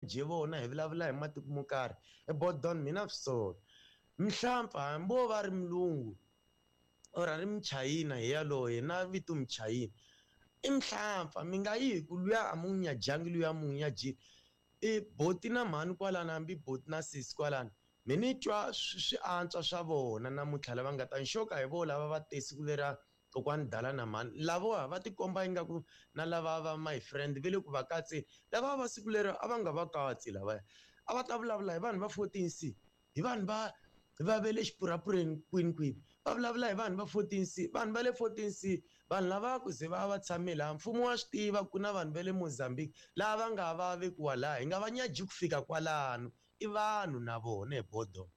nyaje vona hi vulavula hi matiko mo karhi. E Bodon mina swi sola. Mhlampfa hambi wo va ri mulungu or a ri muchayina hi yaloye na vito muchayina i mhlampfa mi nga yi hi ku luya a mu n'wi nyajangi luya mu n'wi nyajile. I boti na mhani kwalano hambi boti na sesi kwalano mi ni twa swi antswa swa vona namuntlha lava nga ta ni xoka hi vo lava va te siku leriya kokwani dala na mhani lavowa va tikomba ingaku na lava va my friend ve le ku va katseni lava va siku lero a va nga va katsi lavaya a va ta vulavula hi vanhu va 14 C hi vanhu va ve le xipurapureni kwini kwini va vulavula hi vanhu va 14 C vanhu va le 14 C vanhu lava ku ze va va tshame laha mfumo wa swi tiva ku na vanhu va le Mozambique lava va nga va vekiwa laha hi nga va nyaji ku fika kwalano i vanhu na vona hi bodo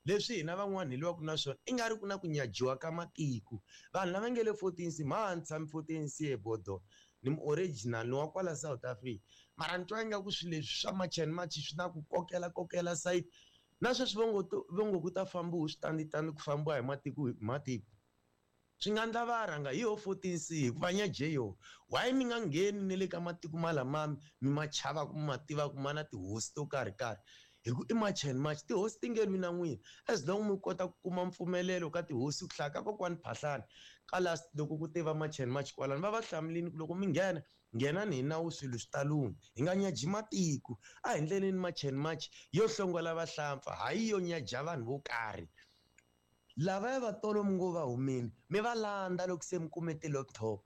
leswi hina van'wana hi lwaka na swona i nga ri ku na ku nyajiwa ka matiko vanhu lava nge le 14 C mha ni tshami 14 C ebodo ni mu-original ni wa kwala South Africa mara ni twa ingaku swilo leswi swa March and March swi na ku kokela kokela sayiti na sweswi vo ngo ku ta fambiwa switanditandi ku fambiwa hi matiko hi matiko swi nga ndla va rhanga hi yo 14 C hikuva nyaje yo why mi nga ngheni ne le ka matiko malamami mi ma chavaku mi ma tivaku ma na tihosi to karhi karhi hi ku i March and March tihosi ti nge lwi na n'wina as long mi kota ku kuma mpfumelelo ka tihosi ku hlaya ka kokwani Phahlane ka last loko ku tiva March and March kwalano va va hlamulini ku loko mi nghena nghenani hi nawu swilo swi ta lungha hi nga nyaji matiko a hi ndleleni March and March yo hlongola vahlampfa hayi yo nyaja vanhu vo karhi lavaya va tolo mi ngo va humini mi va landza loko se mi kume ti-laptop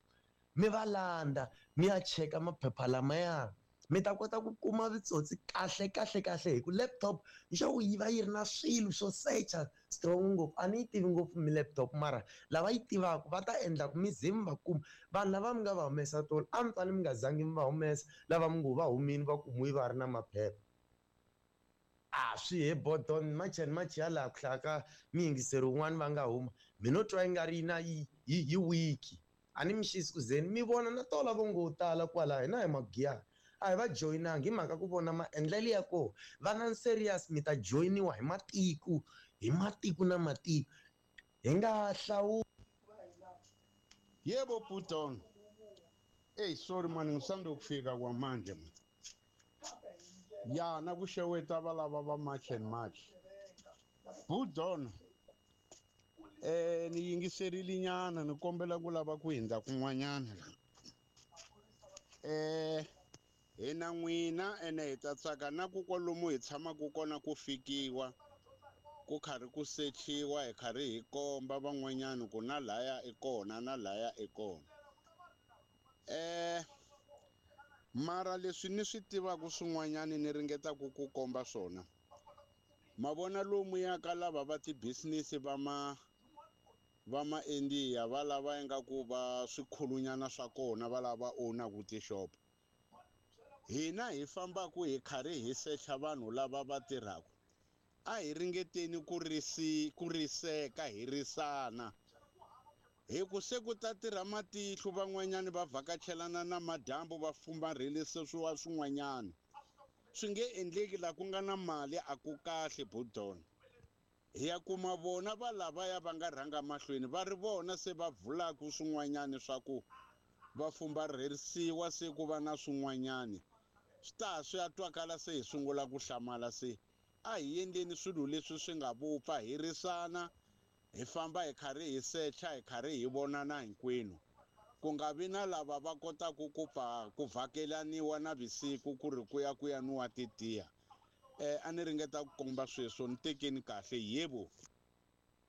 mi va landza mi ya cheka maphepha lamaya mi ta kota ku kuma vitsotsi kahle kahle kahle hi ku laptop nxavo yi va yi ri na swilo swo secha strong ngopfu a ni yi tivi ngopfu mi laptop mara lava yi tivaka va ta endla ku mi ze mi va kuma vanhu lava mi nga va humesa tolo a mi fane mi nga zangi mi va humesa lava mi ngo va humini va kumiwi va ri na maphepha a swi he bodon March and March ya laha ku hlaya ka miyingiseri wun'wani va nga huma mi no twa i nga ri na yi yi yi wiki a ni mi xisi ku zeni mi vona na tola vo ngo tala kwala hina hi magiyani a hi va joyinangi hi mhaka ku vona maendlelo ya kona va na serious mi ta joyiniwa hi matiko hi matiko na matiko hi nga hlawuli. Yebo Puton. Hey, sorry man, ngisanda ukufika kwamanje man. Ya, nakusheweta valava va March and March. Budon. Ni yingiserile nyana ni kombela ku lava ku hindza kun'wanyana la. Hina n'wina ene hi ta tsaka na ku kwalomu hi tshamaka kona ku fikiwa ku karhi ku sechiwa hi karhi hi komba van'wanyana ku na laya i kona na laya i kona. Mara leswi ni swi tivaka swin'wanyana ni ringetaka ku komba swona ma vona lomu ya ka lava va ti-business va ma India va lava ingaku va swikhulunyana swa kona va lava ownaku tixopo hina hi fambaku hi karhi hi secha vanhu lava va tirhaka a hi ringeteni ku risi ku riseka hi risana hi ku se ku ta tirha matihlo van'wanyani va vhakachelana na madyambu va fumbarhelise swiwa swin'wanyana swi nge endleki la ku nga na mali a ku kahle budon hi ya kuma vona va lavaya va nga rhanga mahlweni va ri vona se va vulaka swin'wanyani swa ku va fumbarherisiwa se ku va na swin'wanyani swi ta swi ya twakala se hi sungula ku hlamala se a hi endleni swilo leswi swi nga vupfa hi risana hi famba hi karhi hi secha hi karhi hi vonana hinkwenu ku nga vi na lava va kotaka ku pfa ku vhakelaniwa na vusiku ku ri ku ya ku ya nwiwa titiya. A ni ringeta ku komba sweswo ni tekeni kahle yebo.